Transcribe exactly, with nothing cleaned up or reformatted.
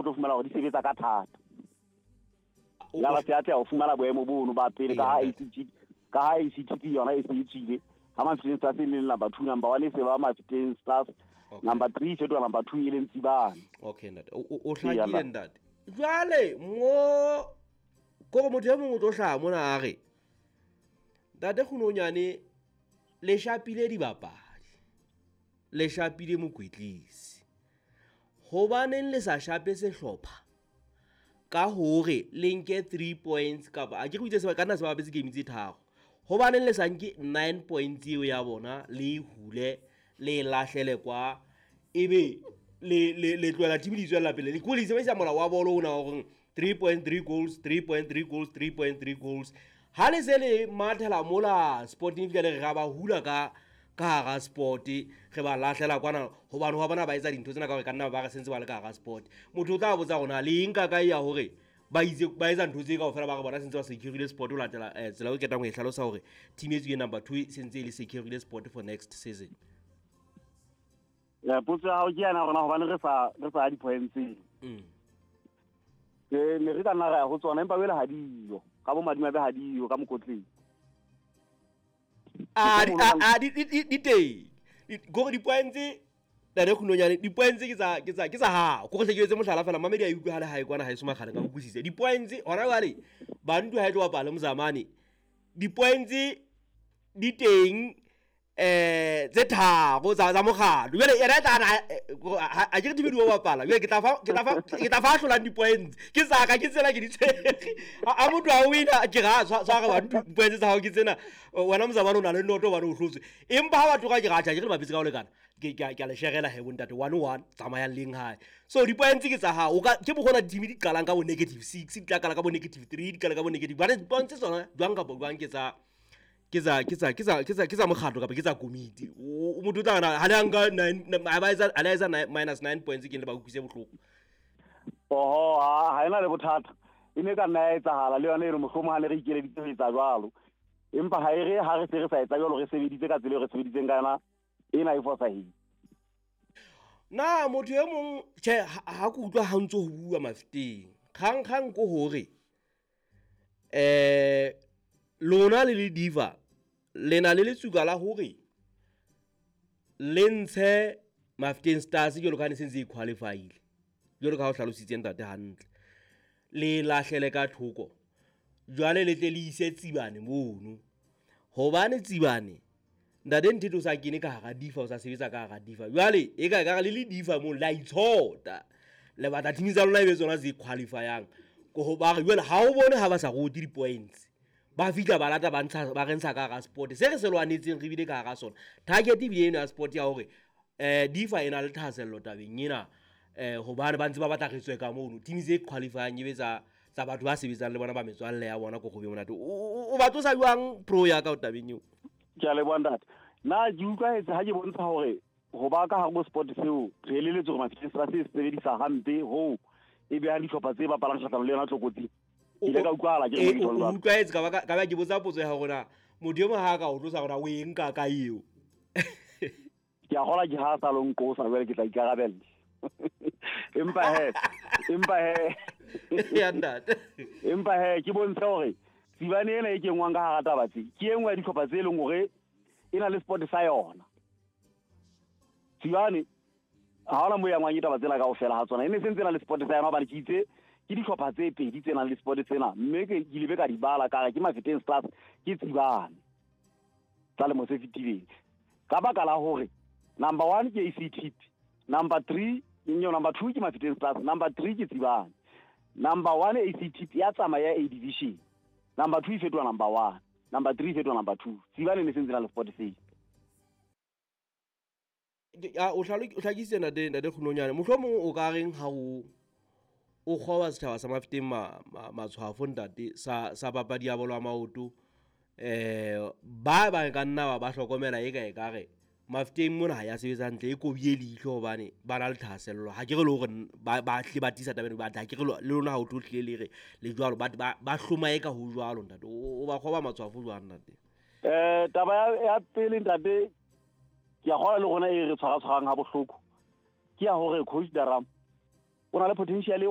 o tlo fumana hore di sebetsa ka thata. Ya ba se atleha ho fumana boemo bono ba pele ka ha A C T ka ha A C T P yona e se e tswile. Ha Mafeteng Stars e leng number two, number one e se ba Mafeteng Stars, number three e fetoha number two e leng Tsibane. Okay ntate, o hlakile ntate. Jwale mo kore motho e mong o tlo hlaha mona a re ntate Kgunonyane le shapile dibapadi, le shapile mokwetlisi, hobaneng le sa shape sehlopha ka hore le nke three points kapa a ke re itse se ka nna se bapetse game tse tharo, hobaneng le sa nke nine points eo ya bona le hule le lahlele kwa ebe le le le tlohela team di tswella pele le ko le sebedisa molao wa bolo ona wa hore three point three goals, three point three goals, three point three goals. Ha le se le mathela mola Sporting fihla le re ra ba hula ka ka hara sport re ba lahlela kwana hobane wa bona ba etsa dintho tsena ka hore ka nna ba re sentse ba le ka hara sport. Motho o tla botsa rona le eng ka kae ya hore ba itse ba etsa ntho tse kaofela ba re bona sentse ba securile sport ho latela tsela eo ke ketang ho e hlalosa hore team e tswileng number two sentse e le securile sport for next season. Ya potso ya hao ke yana rona hobane re sa re sa di-points. Mm. Ke ne re ka nna ra ya ho tsona empa wele ha diyo ka bo madimabe ha diyo ka mokotleng. A a di di di teng. Gore di-points ntate Kgunonyane di-points ke tsa ke tsa ke tsa hao. Kore hle ke etse mohlala fela mamedi a utlwe ha le hae kwana haeso makgale ka utlwisise. Di-points hona jwale Bantu ha e tlo bapala le Mozamane di-points di teng eh tse tharo tsa tsa mokgatlo. Jwale yena e tla a ke re team di bapala. Jwale ke tla fa ke tla fa ke tla fa hlolang di-points. Ke tsaka ke tsena ke di tshwere. A motho a wina ke ra tshwara Bantu points tsa hao ke tsena wena Mozamane o na le noto hobane o hlotswe. Empa ha batho ka ke ra tjha ke re bapetse ka ho lekana. Ke ke ke a le sherela he bontate one one tsamayang leng hae. So di-points ke tsa hao. O ka ke bokgona team di qalang ka bo negative six, di tla qala ka bo negative three, di qala ka bo negative. Bane points tsona jwang kapa jwang ke tsa ke tsa ke tsa ke tsa ke tsa ke tsa mokgatlo kapa ke tsa komiti. O motho o tla re ha le nka nine ha ba etsa ha le etsa minus nine points ke le ba utlwise bohloko. Oho, ha ena le bothata. E ne ka nna ya etsahala le yona e re mohlomong ha ne re ikeleditse ho etsa jwalo. Empa ha e re ha re se re sa etsa jwalo re sebeditse ka tsela eo re sebeditseng ka yona ena e fosahetse. Na motho e mong tjhe ha ke utlwa ha ntso ho bua Mafeteng. Kgang kgang ko hore eh lona le le diva le na le letsuka la hore le ntshe Mafeteng Stars jwalo ka ha ne se ntse e qualify-ile. Jwalo ka ha o hlalositse ntate hantle. Le lahlele ka thoko. Jwale le tle le ise Tsibane mono. Hobane Tsibane ntate Nthetho o sa kene ka hara difa o sa sebetsa ka hara difa. Jwale e ka ekare le le difa mono la itshota. Le batla team tsa lona e be tsona tse qualify-ang. Ko ho ba re jwale ha o bone ha ba sa rote di-points. Ba fihla ba lata ba ntsha ba re ntsha ka hara sport. Se re se lwanetseng re bile ka hara sona. Target ebile eno ya sport ya hore eh difa e na le thahasello tabeng ena eh hobane ba ntse ba batla re tswe ka mono. Team tse qualify-ang e be tsa tsa batho ba sebetsang le bona ba metswalle ya bona ko go be monate. O ba tlosa jwang pro ya ka tabeng eo? Ke a leboha ntate. Nna ke utlwahetse ha ke bontsha hore ho ba ka hare ho sport seo re eleletswe hore Mafeteng Stars se sebedisa hampe hoo e behang dihlopha tse bapalang kgahlanong le yona tlokotsing. Ke ile ka utlwahala ke re o utlwahetse ka ba ka ba ke botsa potso ya hore na motho e mong ha ka o tlosa hore o e nka ka eo. Ke a kgolwa ke ha sa lo nqosa jwale ke tla ikarabella. Empa he, empa he. Ya ntate. Empa he ke bontshe hore Tsibane ena e kenngwang ka hara taba tse ke e nngwe ya dihlopha tse leng hore e na le sport sa yona. Tsibane ha hona moo ya ngwang ditaba tsena kaofela ha tsona. E ne se ntse na le sport sa yona hobane ke itse ke dihlopha tse pedi tse nang le sport tsena mme ke ile be ka di bala ka re ke Mafeteng Stars ke Tsibane tsa lemo se fetileng. Ka baka la hore number one ke A C T P, number three nyo number two ke Mafeteng Stars, number three ke Tsibane. Number one A C T P ya tsamaya A division. Number two e fetoha number one, number three e fetoha number two. Tsibane ne se ntse na le sport seo. O hlakisitse ntate ntate Kgunonyane. Mohlomong o ka reng ha o o kgoba setjhaba sa Mafeteng matshwafo ntate sa sa papadi ya bolo ya maoto eh ba ba ka nna ba ba hlokomela e ka e ka re Mafeteng mona ha ya sebetsa hantle e kobie leihlo hobane ba na le thahasello. Ha ke re le hore ba ba tle ba tisa tabeng ba ha ke re le lona ha o tlo tlile le re le jwalo ba ba hloma e ka ho jwalo ntate. O ba kgoba matshwafo jwang ntate? Eh taba ya pele ntate ke a kgolwa le rona e re tshwara tshwarang ha bohloko ke ya hore coach Daram o na le potential e